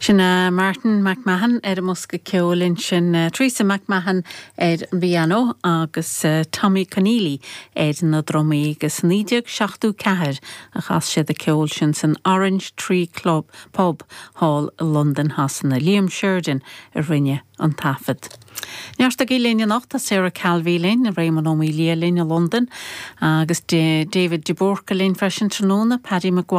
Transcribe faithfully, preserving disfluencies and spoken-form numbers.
Sin uh, Martin McMahon ar an mbosca ceoil ansin uh, Teresa McMahon ar an bpianó agus uh, Tommy Conneely ar na drumaí agus naoi déag seachtó ceathair a chas siad an ceol sin san Orange Tree Club Pub Hall London Shasana Liam Sheridan a rinne an taifead. Nearsta linn anocht Sarah Calvey linn Raymond O'Melia linn i London agus David de Búrca linn freisin tráthnóna Paddy McGuire